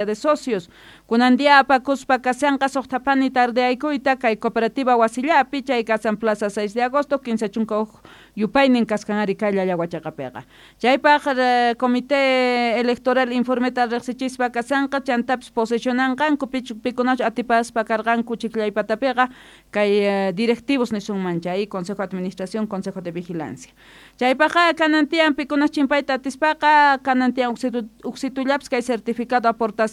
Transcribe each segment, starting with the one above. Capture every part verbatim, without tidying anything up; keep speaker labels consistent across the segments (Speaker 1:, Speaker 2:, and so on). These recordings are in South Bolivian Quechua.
Speaker 1: De socios. Kunan día apakuspa kashanqa suqtapani tardeaykuyta kay cooperativa wasillapi chay kasan Plaza seis de agosto kinsa chunka huk yupaynin kaskan ari kay Llallawachaqapiqa. Chaypaq comité electoral informeta riqsichispa kashanqa chantapis posesionanqanku pikunachu atipaspa karqanku chiklaypatapiqa kay directivos nisunman chay consejo de administración, consejo de vigilancia. Chaypaqqa kanan tiyan pikunas chimpayta atispaqa kanan tiyan uksitullapis kay certificado aportación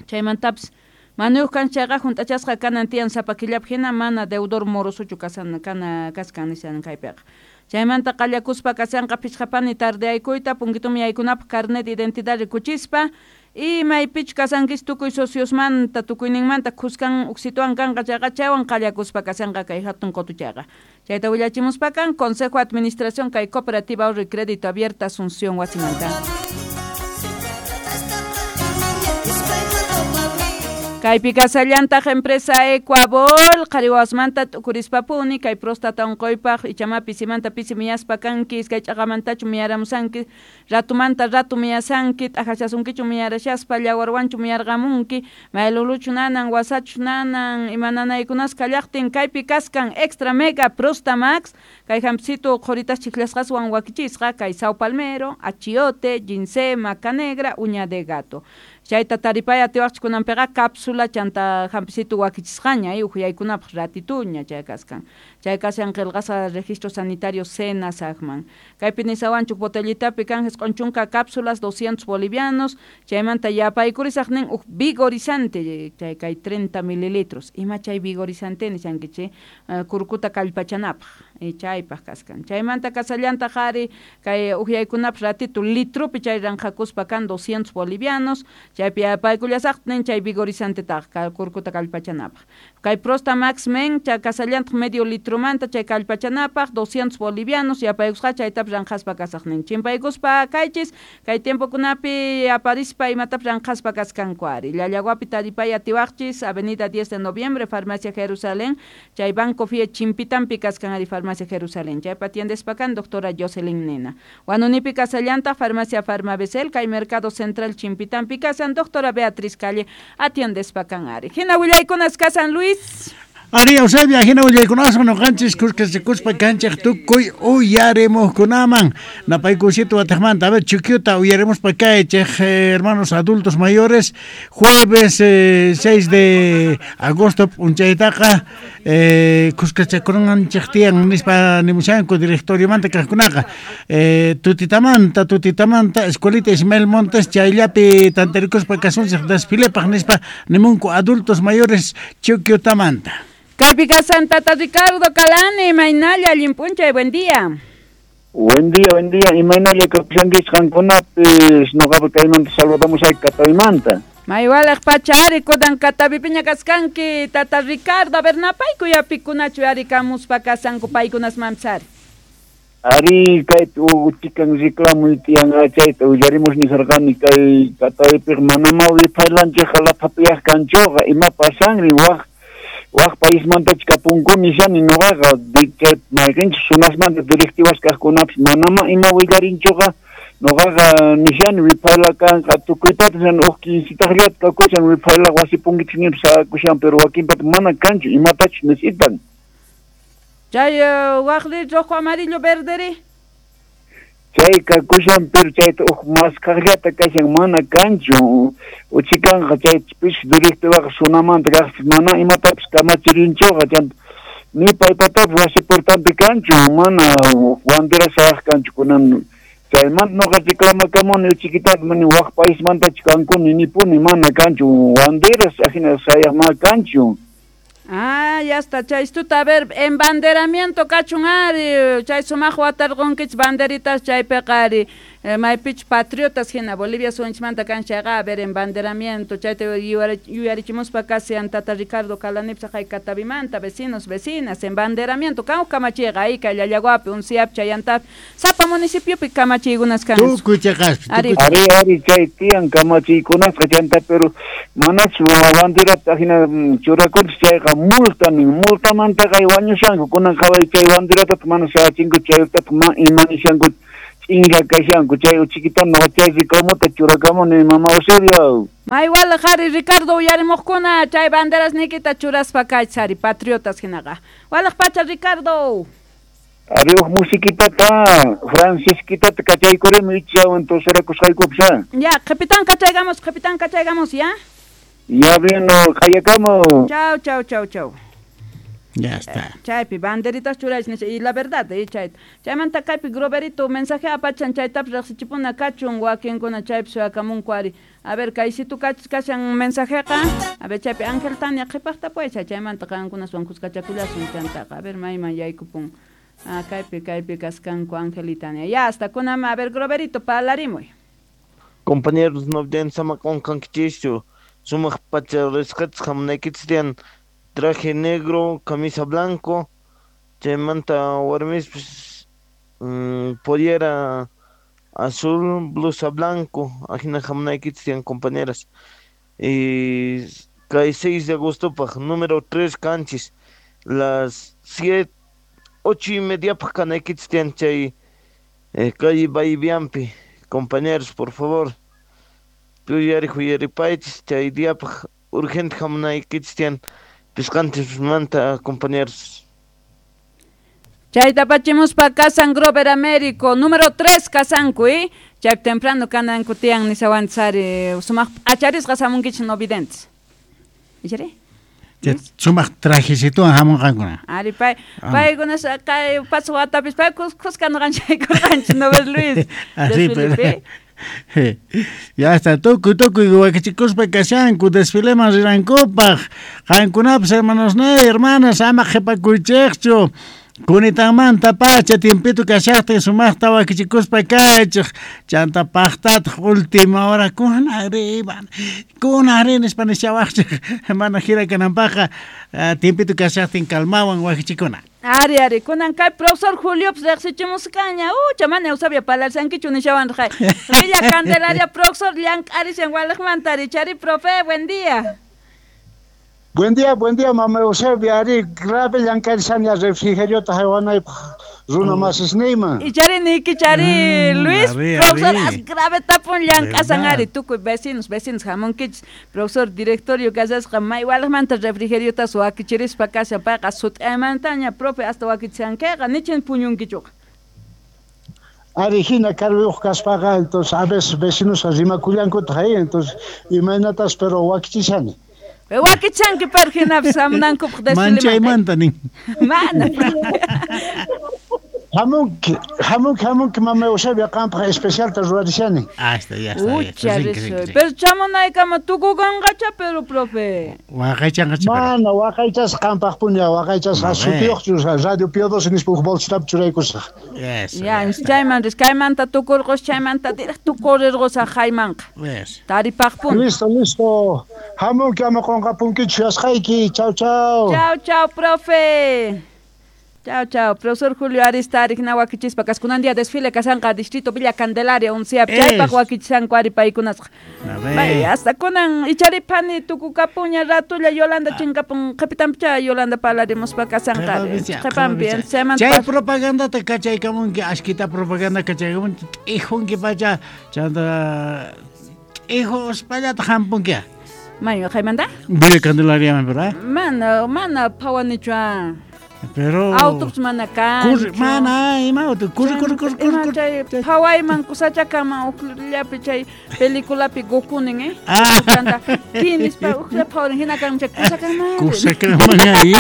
Speaker 1: chaymantapis manuyuq kan chayqa hunt'achasqa kanan tiyan sapa killapi hina mana deudor morosochu kasan kana kaskan nishan kaypiqa. Chaymanta qallakuspa kashanqa phichqapani tardeaykuyta punkitumi yaykunapaq carnet de identidad rikuchispa y maypichu kasankis tukuy sociosmanta tukuyninmanta kuskan uksituwan kanqa chayqa chaywan qallakuspa kashanqa kay hatun qutuchayqa. Chayta willachimuspa kan Consejo de Administración kay Cooperativa Ahorro y Crédito Abierta Asunción wasimanta. Kaypi kasallantaq empresa Ecuabol, qhariwasmanta t'ukurispapuni, kay próstata unquypaq ichama pisimanta pisi miyaspa kanki, iskay ch'aqamantachu miyaramusanki, ratumanta ratu miyasanki, t'aqashasunkichu miyarashaspa, llawarwanchu miyarqamunki, mayluluchu nanan, wasachu nanan, ima nanaykunas kallaqtin, kaypi kaskan Extra Mega Prostamax, kay hampisitu qhuritas chiklasqaswan wakichisqa, kay sao palmero, achiote, ginseng, maca negra, uña de gato. Chayta taripay atiwaqchik kunanpiqa cápsula chanta hampisitu wakichisqaña uhyaykunapaq ratituña chay kaskan. Chay kashan qillqasqa registro sanitario SENASAGman. Kaypi nisawanchuk botellitapi kan jisq'un chunka cápsulas doscientos bolivianos, chaymanta yapaykurisaq nin uj vigorizante chay kay treinta mililitros. Ima chay vigorizante nishankichik kurkuta kallpachanapaq chaypaq kaskan. Chaymanta kasallantaq ari kay uhyaykunapaq ratitu litrupi chay ranqhakuspa kan doscientos bolivianos. Chaypi yapaykullasaqtin chay vigorizantetaq kurkuta kallpachanapaq. Kay Prostamax men chay kasallantaq medio litrumanta chay kallpachanapaq doscientos bolivianos yapaykusqa chaytapas ranqhaspa kasaqnin. Chimpaykuspa kaychis kay tiempokunapi aparispa imatapas ranqhaspa kaskanku ari. Llallawapi taripay atiwaqchis Avenida diez de Noviembre, Farmacia Jerusalén, chay Banco Fie Chimpitampi kaskan ari Farmacia Jerusalén. Chaypa atiendespa kan doctora Jocelyn Nena. Huanunipi kasallantaq Farmacia Farmabesel, kay Mercado Central Chimpitampi kasan doctora Beatriz Calle atiendespa kan ari. Hina willaykunas kasan Luis.
Speaker 2: Ari Eusebia, hina willaykunaswan ñuqanchis kuskachikuspa kanchik tukuy uyarimuqkunaman. Napaykusito wataqmanta, a ver, Chuquiuta uyarimuspa kaychik, hermanos adultos mayores, jueves eh, seis de agosto p'unchaytaqa eh, kuskachakunanchik tiyan nispa nimushanku directoriomanta kaqkunaqa. Eh, tutitamanta, tutitamanta, escuelita Ismael Montes chayllapi tantarikuspa kasunchik desfilepaq nispa nimunku adultos mayores Chuquiutamanta.
Speaker 1: Kaypi kasan Tata Ricardo Calani, imaynalla allin p'unchay, buen día.
Speaker 3: Buen día, buen día, imaynalla kapushankichik qankunapis, ñuqapi kaymanta saludamos ay Kataymanta.
Speaker 1: Maywalaq pacha ari kunan Katapipiña kaskanki, Tata Ricardo, a ver napaykuy apikunachu ari kamuspa kasanku paykunasmanpis ari.
Speaker 3: Ari kaypi uchikan reclamo tiyan chayta willarimus nisarqani kay Kataypiq manama wipaylanchikqa laphapiyaq kanchuqa ima pasanri waq waq paismantachu kapunkuni nishani ñuqaqa chay mayqinchik sunasmanta directivas kaqkunapis manama ima willarinchuqa ñuqaqa nishani wipayla kanqa tukuypata uj quincetaqllata kakushan wipayla wasi punkichik ñinpis sayakushan pero wakinpata mana kanchu imatachu necesitan.
Speaker 1: Chay waqri rojo amarillo verderi.
Speaker 3: Chay kakushan pero chayta uj maskaqllata kashan mana kanchu uchikanqa chay pis directivaqa sunamanta kaqpis mana imatapis kamachirinchuqa chanta ni paypatapis wasi puertampi kanchu mana bandera sayaq kanchu kunan chaymanta ñuqa reclamakamuni uchiquitata mani waq paismantachu kankuni nipuni mana kanchu banderas ajina sayaq mana kanchu.
Speaker 1: Ah, ya está, chay istuta, a ver, embanderamiento kachun ari, chay sumaq watarqunkichik banderitas chaypiqa ari, maypichu patriotas hina Bolivia suyunchikmanta kan chayqa, a ver, embanderamiento, chayta yuyarichimuspa kasian Tata Ricardo Calanipis haqay Katavimanta, vecinos, vecinas, embanderamiento, kan huk kamachiyqa ahí kay Llallaguapi, Unciapi, Chayantapi, sapa municipiopi kamachiykunas kan.
Speaker 2: Tukuy chaqaspi,
Speaker 1: Ari,
Speaker 3: ari, ari, chay tiyan kamachiykunasqa chanta, pero manachu banderata hina churakunchik chayqa multa nin, multamantaqa wañushanku kunan qhaway chay banderatata mana sayachinku chaytataq ma ima nishanku ch'inlla kashanku chay uchikitana chay reclamota churakamuni mama Eusebio.
Speaker 1: Maywala qhari Ricardo uyarimuqkuna chay banderas nikita churaspa kaychari patriotas hinaqa. Walaq pacha Ricardo.
Speaker 3: Ari uj musiquitata Francisquitata kachaykurimi ichawan toserakusqaykupis.
Speaker 1: Ya, qhipitan kachaygamos, qhipitan kachaygamos, ya.
Speaker 3: Ya vino, kayakamo.
Speaker 1: Chau, chau, chau, chau.
Speaker 2: Ya está.
Speaker 1: Chaypi banderitas churaychis nisha y la verdad eh, chay chaymanta kaypi Groverito mensaje apachan chaytapas riqsichipuna kachun wakinkuna chaypi suyakamunku ari. A ver kaysitu kashan mensajeqa a ver chaypi Ángel Tania qhipaqta paycha chaymanta qankunaswan kuskachakullasun chantaqa a ver mayman yaykupun. Ah, kaypi kaypi kaskanku Ángel y Tania. Ya hasta kunama a ver Groverito parlarimuy.
Speaker 4: Compañeros no sama qunqankichischu sumaq pacha risqachis hamunaykichis traje negro, camisa blanco, chaymanta warmispis mm, pollera azul, blusa blanco, ajina hamunaykichis tiyan compañeras. Y kay seis de agosto paj número tres canchis, las siete, ocho y media paj kanaykichis tiyan chay eh, calle Baibiampi, compañeros, por favor. Tuyari huyaripaychis chay día paj urgente hamunaykichis tiyan pisqanchis manta compañeros.
Speaker 1: Chayta pachimuspa kasan Grover Américo número tres kasanku eh chay temprano kananku tiyan nisawantsari sumaq acharisqa hamunkichis no videntes. Ichari?
Speaker 2: Sumaq trajecituwan hamunqankuna.
Speaker 1: Ari pay paykuna kay paso watapis pay kuska nuqanchaykurqanchis no ves Luis.
Speaker 2: Así pero ya está tukuy tukuy wakichikuspa kashanku desfileman rinankupaq qankunapas hermanos ne hermanas ama qhipakuychikchu kunitanmanta pacha tiempito kashaqtin sumaqta wakichikuspa kaychik chanta paqtataq última hora kunari kunari nispa nishawaqchik mana jira kananpaqqa tiempito kashaqtin calmawan wakichikuna.
Speaker 1: Ari, ari, kunan kay profesor Julio riqsichimusqaña, ucha mana Eusebia parlarsankichu nishawan raqay. Villa Candelaria profesor llank'arishan walaqmanta richari profe, buen día.
Speaker 5: Buen día, buen día, mama Eusebia, ari grave llank'arishanya refrigeriota haywanaypaq runa masisniyman.
Speaker 1: Ichari niki chari
Speaker 2: mm,
Speaker 1: Luis,
Speaker 2: ari,
Speaker 1: profesor
Speaker 2: ari.
Speaker 1: As grave tapun llank'asan ari tukuy vecinos, vecinos hamunkichis, profesor directorio kasasqa may walaqmanta refrigeriotas wakichirispa kashan payqa sut'aymantaña profe hasta wakichankiqa nichin puñunkichuqa.
Speaker 5: Ari hina carguyuq kaspaqa entonces a veces vecinos rimakullankutaq ahí entonces imaynatas pero wakichishani.
Speaker 1: Wakichanki pero hinapis hamunankupaq desfileman.
Speaker 2: Manchaymanta nin.
Speaker 1: Mana.
Speaker 5: Hamunki, hamunki, hamunki, mama Eusebia qampaq especialta ruwarishani.
Speaker 2: Ah, está, ya está.
Speaker 1: Ucha, pero chamunaykama tukukanqacha pero profe.
Speaker 2: Waqaychanqacha.
Speaker 5: Mana waqaychasqa qampaq punya waqaychasqa sutiyuqchu Radio Pío doce nispa huk bolsitapi churaykusaq.
Speaker 2: Yes.
Speaker 1: Ya, chayman ris kaymanta tukurqus chaymanta directo corrirqusaq haymanqa.
Speaker 2: Yes.
Speaker 1: Taripaqpuni.
Speaker 5: Listo, listo. Hamunki ama qunqapunkichu yasqayki. Chau, chau.
Speaker 1: Chau, chau, profe. Chao, chao. Profesor Julio Arista, Arigna wakichispa, kaskunan día desfile kasanqa distrito Villa Candelaria, uncia chaypaq wakichishanku ari paykunasqa. Bay, hasta kunan icharipani tukukapuña ratulla Yolanda chinkapun qhipitanpicha Yolanda parlarimuspa kasanqa. Qhipanpi
Speaker 2: chay propagandata kachaykamunki, ashkita propaganda kachaykamunki, t'ijunki pacha, chanta t'ijuspallataj hampunki.
Speaker 1: Mayo, haymanta?
Speaker 2: Villa Candelaria, ¿verdad?
Speaker 1: Mana, mana phawanichu.
Speaker 2: Pero
Speaker 1: autobús mana kan.
Speaker 2: Corre, mana, ima auto, corre, corre, corre, corre,
Speaker 1: chay phawayman kusachakaman uqllapi chay peliculapi Gokunin, eh?
Speaker 2: Ah.
Speaker 1: Kinispa uqlla phawarin hina kan chay kusakanman.
Speaker 2: Kusakanman ahí.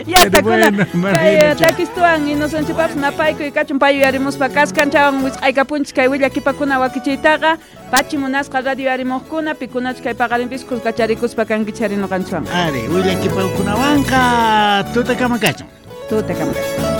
Speaker 1: Ya está kuna. Kay takistuan inocencio napaykuy kachun payuyarimuspa kaskanchawan wisq'aykapunchis kay willakipakuna wakichiytaqa pachi munasqa radio yarimuqkuna pikunachus kay paqarinpis kuskacharikuspa kankichari nuqanchwan.
Speaker 2: Ari, willakipakunawanqa tutakama kachun.
Speaker 1: Tutakama kachun.